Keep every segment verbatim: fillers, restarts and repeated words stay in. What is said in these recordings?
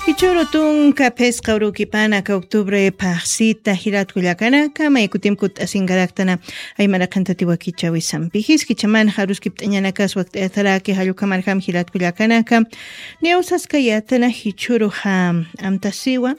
Ichuru tunka phisqa urukipana ka octubre phaxsita jilatkullakanaka, maykutim kut'asinkaraktana, aymaraqantati wakichawisampi. Jiskichaman jaruskipt'añanakas wakt'ayataraki jallukhamarjam jilatkullakanaka, niwsaskayatana jichuruxa amtasiwa,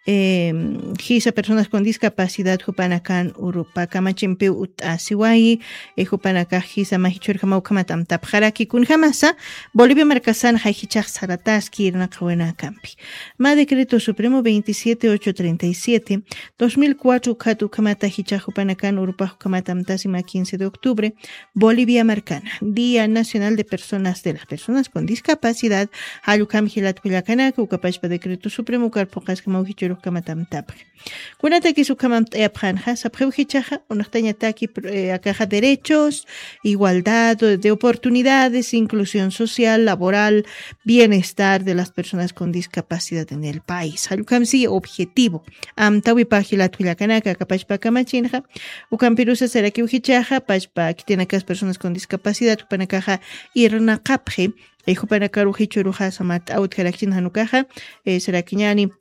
eh, jisa personas con discapacidad jupanakan urupa kamachimpiw ut'asiwayi, eh, jupanakax jisa majichurjama ukhamat amtapxaraki kunjamasa, Bolivia markasan jayjichax sarataski irnaqawinakampi. Ma decreto supremo veintisiete ocho treinta y siete, dos mil cuatro khat ukhamata jichax jupanakan urupax ukhamat amtasima quince de octubre, Bolivia markana, Día Nacional de Personas, de las Personas con Discapacidad, jallukam jilatkullakanaka, ukapachpa decreto supremo karpuqaskamaw jichurux ukhamat amtapxi. Kunatakis ukhamam t'ayapxanxa, sapxiw jichaxa, unaxtañataki, eh, akaxa derechos, igualdad de oportunidades, inclusión social, laboral, bienestar de las personas con discapacidad en el país. Jallukhamsi objetivo. Amtawipa jilatkullakanaka, akapachpa kamachinxa, ukampirusa sarakiw jichaxa, pachpa kitinakas personas con discapacidad, jupanakaxa irnaqapxi, eh, jupanakaru jichuruxa samat awtjarakchin janukaxa, eh, sarakiñani,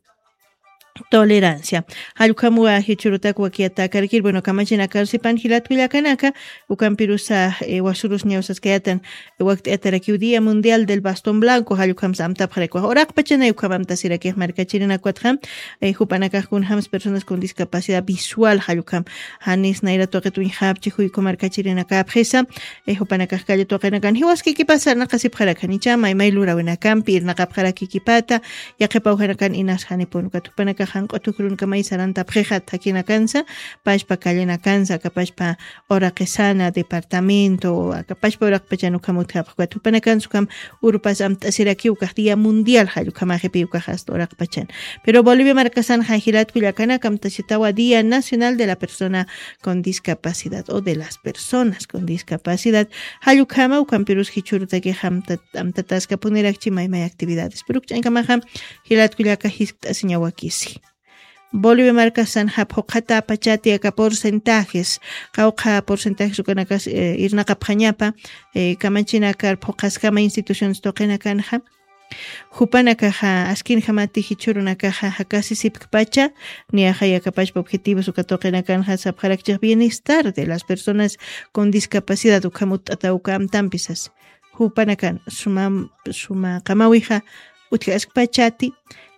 tolerancia. Jallukhamuwa jichurutak wakiyatakarkir, bueno, kamachinakar sipan jilatkullakanaka, ukampirusa, eh, wasurus ñawsaskayatan, eh, wakt'ayatarakiw Día Mundial del Bastón Blanco, jallukhamsa amtapxarakwa. Uraqpachanay ukhamamtasirakix markachirinakwatxam, eh, jupanakax kunjams personas con discapacidad visual, jallukham, janis nayra tuqit uñjapchi juyku markachirinakapxisa, eh, jupanakax kalla tuqinakan jiwaskikipasa naqasipxarakanicha, maymay lurawinakampi, irnaqapxarakikipata, yaqipawjanakan inas janipun ukat jupanaka janq'u tukrunkamay sarantapxixa thakinakansa, pachpa kallinakansa, akapachpa uraqisana departamento, akapachpa uraqpachan ukham utjapxi ukat jupanakansa ukham urupas amt'asirakiw ukax Día Mundial, jallukamaxipi ukax hasta uraqpachan. Pero Bolivia markasan jajilatkullakanaka amtasitawa Día Nacional de la Persona con Discapacidad o de las Personas con Discapacidad, jallukhama ukampirus jichurutakixa amtat-, amtataskapunirakchi maymay actividades. Pero ukch'ankamaxa jilatkullaka jiskt'asiñawakisi. Bolivia markasan japhuqata pachati aka porcentajes, qawqha porcentajes ukanakas, eh, irnaqapxañapa, eh, kamachinakar phuqaskama instituciones tuqinakanxa. Jupanakaxa askinjamati jichhurunakaxa jakasisipkpacha, niyaxa yakapachpa objetivos uka tuqinakanxa sapxarakchix bienestar de las personas con discapacidad ukham utt'ata uka amtampisas. Jupanakan suma, suma qamawixa utjaskpachati,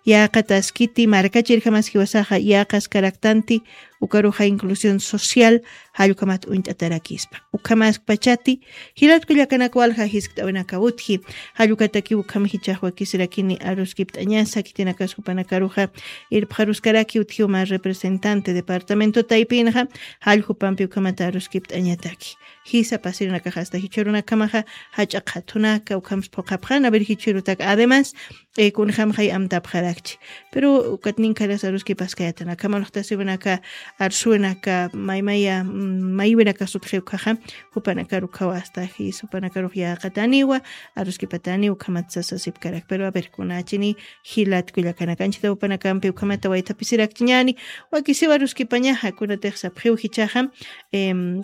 yäqataskiti, markachirjamaskiwasaxa yäqaskaraktanti, ukaruxa inclusión social, jallukhamat uñt'atarakispa. Ukhamaskpachati, jilatkullakanaka walja jiskt'awinaka utji, jallukataki ukham jichax wakisirakini aruskipt'añasa, khitinakas jupanakaruxa irpxaruskaraki utji uma representante departamento taypinxa, jallukupampi ukhamata aruskipt'añataki. Jisa pasirinakaxa hasta jichhurunakamaxa, jach'a qhathunaka, ukhams phuqapxan, a ver jichhurutaka. Además, eh, kunjamxay amtapxarakchi. Pero ukat ninkharas aruskipaskayatan, akham unaxtasiwinaka, arsuwinaka, maymaya, mm, maywinaka sutxi ukhaxa, jupanakar ukhawa hasta jis, jupanakarux yäqataniwa, aruskipatani ukhamat sasasipkarak. Pero a ver, kunachini jilatkullakanaka, anchita jupanakampi ukhamata waythapisirakchiñani, wakisiwa aruskipañaxa, kunatix sapxiw jichaxa, em,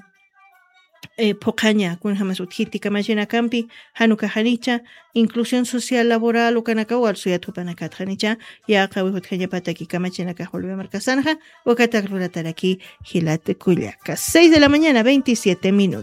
eh, phuqhaña, kunjamas utjiti kamachinakampi, januka janicha, inclusión social laboral, ukanaka walsuyat jupanakatxa nicha, yäqawi jutjañapataki kamachinakax Bolivia markasanxa, ukatak lurataraki jilatkullaka. Seis de la mañana, veintisiete minutos.